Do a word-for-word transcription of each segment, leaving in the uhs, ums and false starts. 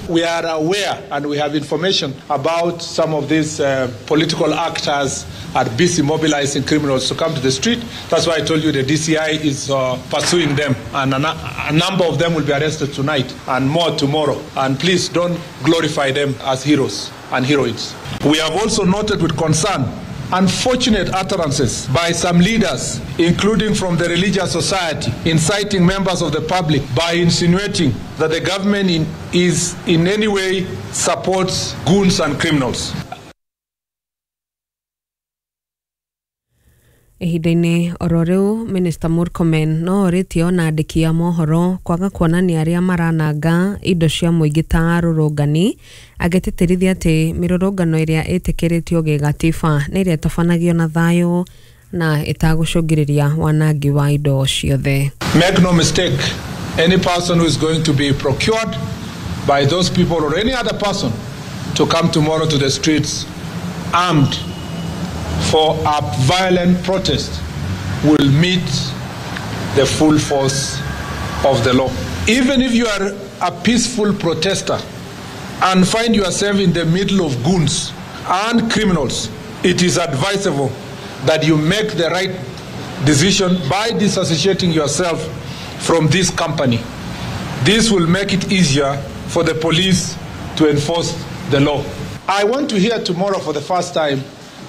We are aware and we have information about some of these uh, political actors are busy mobilizing criminals to come to the street. That's why I told you the D C I is uh, pursuing them, and a, a number of them will be arrested tonight and more tomorrow. And please don't glorify them as heroes and heroines. We have also noted with concern unfortunate utterances by some leaders, including from the religious society, inciting members of the public by insinuating that the government in, is in any way supports goons and criminals. Ihinda-inĩ oro rĩu Minister Murkomen no orĩtie ona andĩki a mohoro kwaga kuonania arĩa marananga indo cia mũingĩ ta arũrũngani, agĩtĩtĩrithia atĩ mĩrũrũngano ĩrĩa ĩtĩkĩrĩtio gĩgatiba nĩ ĩrĩa ĩtabanagio na thayũ na ĩtagũcũngĩrĩria wanangi wa indo ciothe. Make no mistake, any person who is going to be procured by those people or any other person to come tomorrow to the streets armed for a violent protest will meet the full force of the law. Even if you are a peaceful protester and find yourself in the middle of goons and criminals, it is advisable that you make the right decision by disassociating yourself from this company. This will make it easier for the police to enforce the law. I want to hear tomorrow for the first time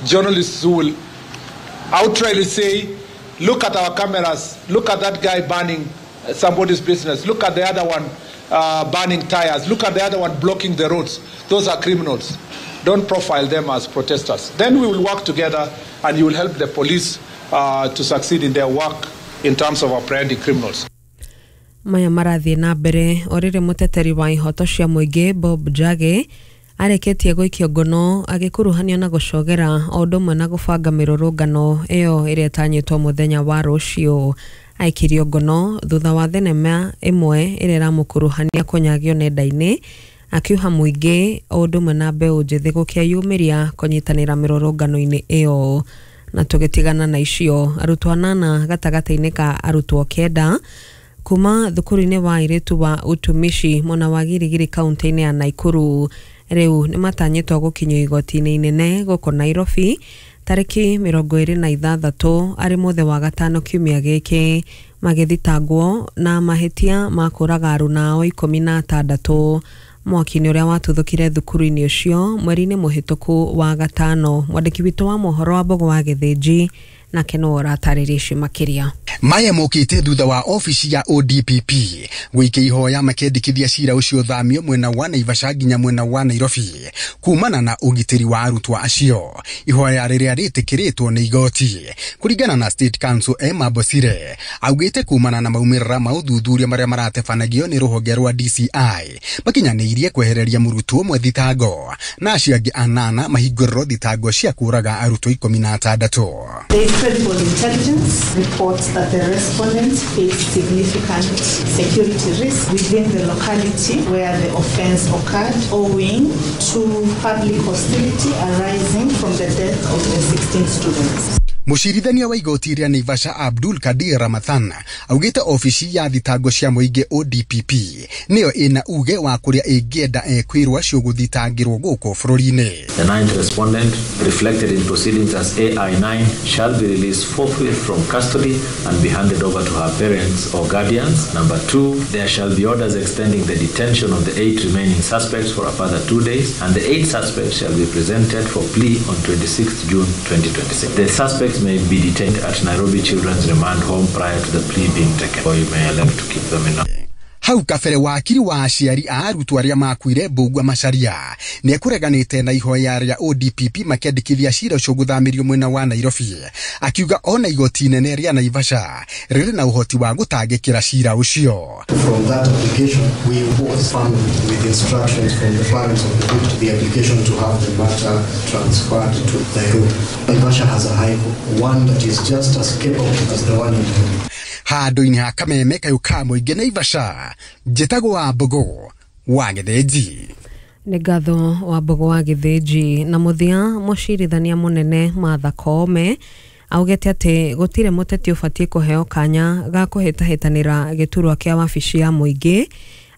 journalists who will outrightly say, look at our cameras, look at that guy burning somebody's business, look at the other one uh, burning tires, look at the other one blocking the roads. Those are criminals. Don't profile them as protesters. Then we will work together and you will help the police uh, to succeed in their work in terms of apprehending criminals. Maya marathiĩ na mbere o rĩrĩ mũteteri wa ihoto cia mũingĩ Bob Njagi areketie gũikio ngono agĩkuruhanio na gũcogera o ũndũ ũmwe na gũbanga mĩrũrũngano ĩyo ĩrĩa ĩtanyĩtwo mũthenya wa rũciũ. Aikirio ngono thutha wa thenema ĩmwe ĩrĩa ĩramũkuruhania kũnyagio nenda-inĩ, akiuha mũingĩ o ũndũ ũmwe na mbeũ njĩthĩ gũkĩyumĩria kũnyitanĩra mĩrũrũngano-inĩ ĩyo. Na tũgĩtigana na icio, arutwo anana gatagatĩ-inĩ ka arutwo kenda kuma thukuru-inĩ wa airĩtu wa utumishi mwena wa Girigiri kaunti-inĩ ya Naikuru rĩu nĩmatanyĩtwo gũkinyio igoti-inĩ inene gũkũ Nairobi tarĩki mĩrongo ĩrĩ na ithathatũ arĩ mũthĩ wa gatano kiumia gĩkĩ, magĩthitangwo na mahĩtia ma kũraga aruna ao ikũmi na atandatũ mwaki-inĩ ũrĩa watuthũkire thukuru-inĩ ũcio mweri-inĩ mũhĩtũku wa gatano. Mwandĩki witũ wa mohoro wa Mbogo wa Gĩthĩnji nake no ũratarĩria icio makĩria. Maya mokite thutha wa ofici ya O D P P gũikia ihoya makendikithia cira ũcio thamio mwena wa Naivasha nginya mwena wa Nairobi kumana na ũgitĩri wa arutwo acio. Ihoya rĩrĩa rĩtĩkĩrĩtwo nĩ igoti kũringana na State Council Emma Bosire augĩte kumana na maumĩrĩra ma ũthuthuria marĩa maratebanagio nĩ rũhonge rwa D C I makinyanĩirie kwehereria mũrutwo ũmwe thitango na acio angĩ anana mahingũrĩrwo thitango cia kũraga arutwo ikũmi na atandatũ. Credible intelligence reports that the respondents face significant security risk within the locality where the offense occurred, owing to public hostility arising from the death of the sixteen students. Mũcirithania wa igoti rĩa Naivasha Abdul Kadir Ramadhan augĩte ofici ya thitango cia mũingĩ O D P P nĩyo ĩna uge wa kũrĩa ĩngĩenda ekwĩrwo acio gũthitangĩrwo gũkũ bũrũri-inĩ. The ninth respondent, reflected in proceedings as A I nine, shall be released forthwith from custody and be handed over to her parents or guardians. Number two, there shall be orders extending the detention of the eight remaining suspects for a further two days, and the eight suspects shall be presented for plea on twenty-sixth June twenty twenty-six. The suspects may be detained at Nairobi Children's Remand Home prior to the plea being taken, or you may elect to keep them in. Hau kabere wakiri wa aciari a arutwo arĩa makuire Mbugua Macharia nĩekũreganĩte na ihoya rĩa O D P P makĩandĩkithia cira ũcio gũthamĩrio mwena wa Nairobi, akiuga ona igoti inene rĩa Naivasha rĩrĩ na ũhoti wa gũtangĩkĩra cira ũcio. From that application, we was found with instructions from the parents of the victim, the application to have the matter transferred to Nairobi. Naivasha has a high court, one that is just as capable as the one in Nairobi. Handũ-inĩ ha kameme kayũ ka mũingĩ Naivasha, njĩtagwo wa Mbogo wa Gĩthĩnji. Nĩ ngatho wa Mbogo wa Gĩthĩnji. Na mũthia, mũcirithania mũnene Martha Koome augĩte atĩ gũtirĩ mũteti ũbatiĩ kũheo kanya ga kũhĩtahĩtanĩra gĩturwa kĩa wabici ya mũingĩ,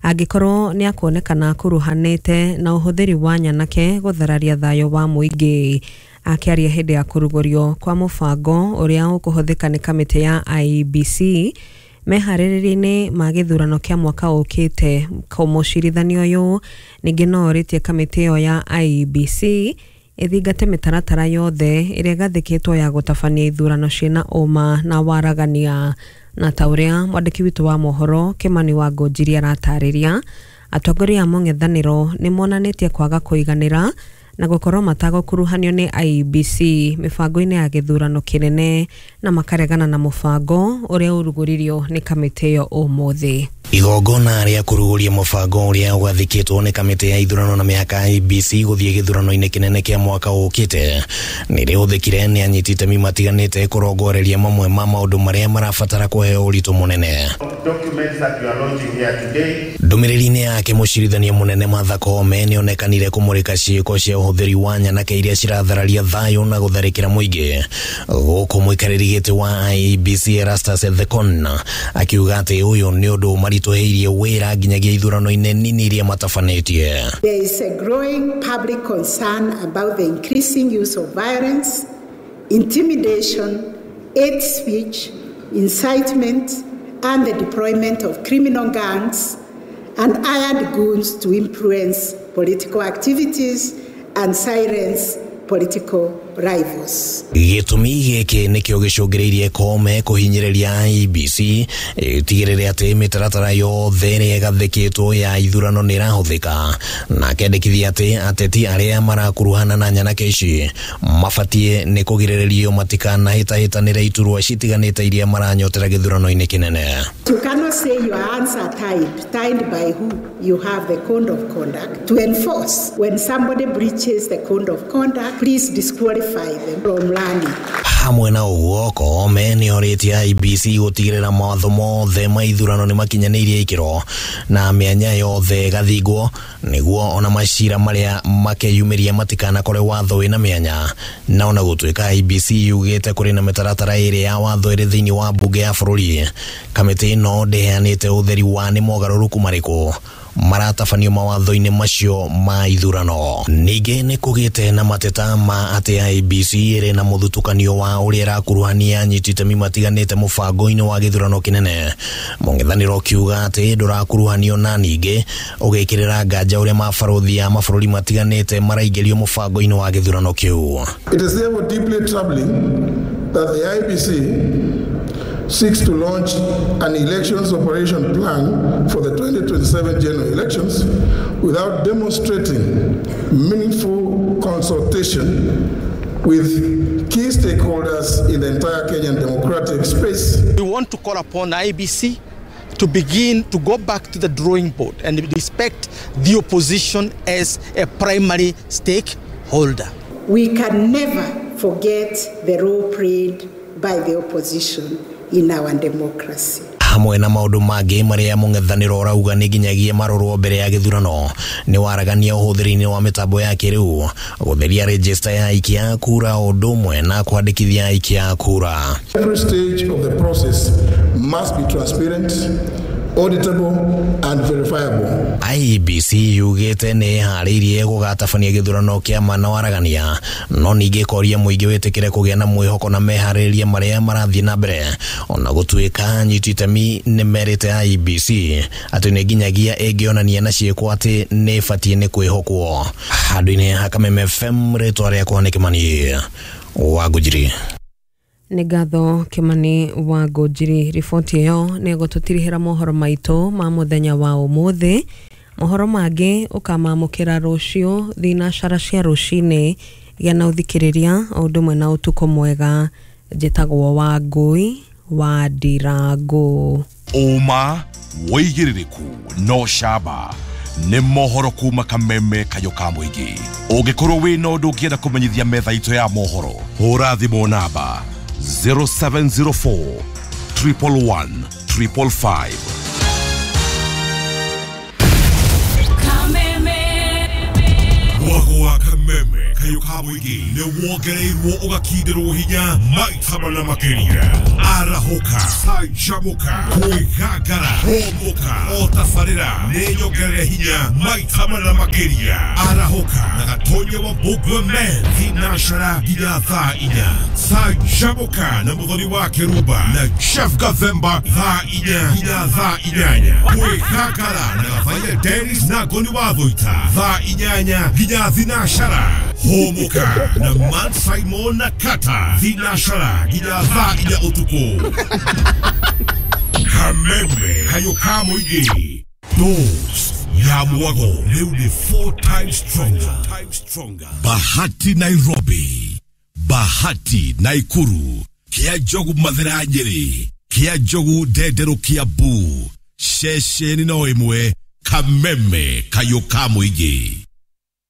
Angĩkorwo nĩ akuonekana akuruhanĩte na ũhũthĩri wa nyanake gũthararia thayũ wa mũingĩ. Akĩaria hĩndĩ ya kũrugũrio kwa mũbango ũrĩa ũkũhũthĩka nĩ kamĩtĩ ya I E B C meharĩrĩria-inĩ ma gĩthurano kĩa mwaka ũkĩte, mũcirithania ũyũ ningĩ no orĩtie kamĩtĩ ĩyo ya I E B C ĩthingate mĩtaratara yothe ĩrĩa ĩgathĩkĩtwo ya gũtabania ithurano ciĩna ũma na waragania. Na ta ũrĩa mwandĩki witũ wa mohoro Kimani wa Ngũnjiri aratarĩria, atongoria a mũng'ethanĩro nĩ monanĩtie kwaga kũiganĩra na gũkorwo matagũkuruhanio nĩ I E B C mĩbango-inĩ ya gĩthurano kĩnene na makaregana na mũbango ũrĩa ũrugũririo nĩ kamĩtĩ ĩyo ũmũthĩ. Igongona rĩa kũrugũria mũbango ũrĩa ũgathĩkĩtwo nĩ kamĩtĩ ya ithurano na mĩhaka I E B C gũthiĩ gĩthurano-inĩ kĩnene kĩa mwaka ũkĩte nĩ rĩhũthĩkire nĩ anyiti itemi matiganĩte kũrongoreria mamwe ma maũndũ marĩa marabatara kũheo ũritũ mũnene. Ndũmĩrĩri-inĩ yake mũcirithania mũnene Martha Koome nĩonekanire kũmũrĩka ciĩko cia ũhũthĩri wa nyanake iria cirathararia thayũ na gũtharĩkĩra mũingĩ, gũkũ mũikarĩri gĩtĩ wa I E B C Erastus Ethekon akiuga atĩ ũyũ nĩ ũndũ maritũhĩirie wĩra nginyagia ithurano-inĩ nini iria matabanĩtie. There is a growing public concern about the increasing use of violence, intimidation, hate speech, incitement, and the deployment of criminal gangs and hired goons to influence political activities and silence political rivals. Gĩtũmi gĩkĩ nĩkĩo gĩcũngĩrĩirie Koome kũhinyĩrĩria I E B C ĩtigĩrĩre atĩ mĩtaratara yothe ĩrĩa ĩgathĩkĩtwo ya ithurano nĩ ĩrahũthĩka, na akendekithia atĩ ateti arĩa marakuruhana na nyanake ici mabatiĩ nĩ kũgirĩrĩrio matikanahĩtahĩtanĩre iturwa citiganĩte iria maranyotera gĩthurano-inĩ kĩnene. You cannot say your hands are tied. Tied by who? You have the code of conduct to enforce. When somebody breaches the code of conduct, please disqualify them from learning. Hamwe na ũguo, Koome nĩ orĩtie I E B C gũtigĩrĩra mawatho mothe ma ithurano nĩ makinyanĩirie ikĩro na mĩanya yothe ĩgathingwo nĩguo ona macira marĩa makeyumĩria matikanakore watho wĩna mĩanya. Na ona gũtuĩka I E B C yugĩte kũrĩ na mĩtaratara ĩrĩ ya watho ĩrĩ thĩinĩ wa mbunge ya bũrũri, kamĩtĩ ĩno ndĩheanĩte ũtheri wa nĩ mogarũrũku marĩkũ maratabanio mawatho-inĩ macio ma ithurano. Ningĩ nĩ kũgĩte na mateta ma atĩ I E B C ĩrĩ na mũthutũkanio wa ũrĩa ĩrakuruhania anyiti itemi matiganĩte mũbango-inĩ wa gĩthurano kĩnene, mũng'ethanĩro ũkiuga atĩ ndũrakuruhanio na ningĩ ũgĩkĩrĩra nganja ũrĩa mabarũthi a mabũrũri matiganĩte maraingĩrio mũbango-inĩ wa gĩthurano kĩu. It is therefore deeply troubling that the I E B C seeks to launch an elections operation plan for the twenty twenty-seven general elections without demonstrating meaningful consultation with key stakeholders in the entire Kenyan democratic space. We want to call upon I E B C to begin to go back to the drawing board and respect the opposition as a primary stakeholder. We can never forget the role played by the opposition in our democracy. Hamwe na maũndũ mangĩ marĩa mũng'ethanĩro ũrauga nĩ nginyagia marorwo mbere ya gĩthurano nĩ waragania ũhũthĩri-inĩ wa mĩtambo ya kĩrĩu, gũtheria rejista ya aikia a kura ũndũ ũmwe na kwandĩkithia aikia a kura. Every stage of the process must be transparent, auditable and verifiable. I E B C yugĩte nĩ ĩharĩirie gũgatabania gĩthurano kĩa ma na waragania, no ningĩ ĩkoria mũingĩ wĩtĩkĩre kũgĩa na mwĩhoko na meharĩrĩria marĩa marathiĩ na mbere, ona gũtuĩka anyiti itemi nĩ merĩte I E B C atĩ nĩ nginyagia ĩngĩonania na ciĩko atĩ nĩ ĩbatiĩ nĩ kwĩhokwo. Handũ-inĩ ha Kameme F M, rĩtwa rĩakwa nĩ Kimani wa Ngũnjiri. Nĩ ngatho Kimani wa Ngũnjiri. Riboti ĩyo nĩ ĩgũtũtirihĩra mohoro maitũ ma mũthenya wa ũmũthĩ. Mohoro mangĩ ũkamamũkĩra rũciũ thinacara cia rũcinĩ. Gĩa na ũthikĩrĩria o ũndũ ũmwe na ũtukũ mwega. Njĩtagwo Wangũi wa Ndirangũ. Ũma wĩigĩrĩrĩku no camba nĩ mohoro kuma Kameme kayũ ka mũingĩ. Ũngĩkorwo wĩna ũndũ ũngĩenda kũmenyithia metha itũ ya mohoro, hũra thimũ namba zero seven zero four triple one triple five. Kameme. Mwago wa Kameme. kayũ ka mũingĩ nĩ wongereirwo ũgakindĩrwo hinya maita mana makĩria. Arahũka, canjamũka, kwĩgangara, hũmũka, o tabarĩra nĩ nyongerere hinya maita mana makĩria. Arahũka na Gatonye wa Mbũgua Men thinacara nginya thaa inya. Canjamũka na Mũthoni wa Kĩrumba na Jeff Gathemba thaa inya nginya thaa inyanya. Kwĩgangara na Gathaia Dennis na Ngoni wa Thũita thaa inyanya nginya thinacara. Hũmũka na Man Simon na Kata thinacara nginya thaa inya ũtukũ. Kameme kayũ ka mũingĩ Dose ya mwago rĩu nĩ four times stronger. Bahati Nairobi, Bahati Naikuru, Kia Njogu Mathira Nyeri, Kia Njogu Ndenderũ Kiambu, ceceni no ĩmwe Kameme kayũ ka mũingĩ.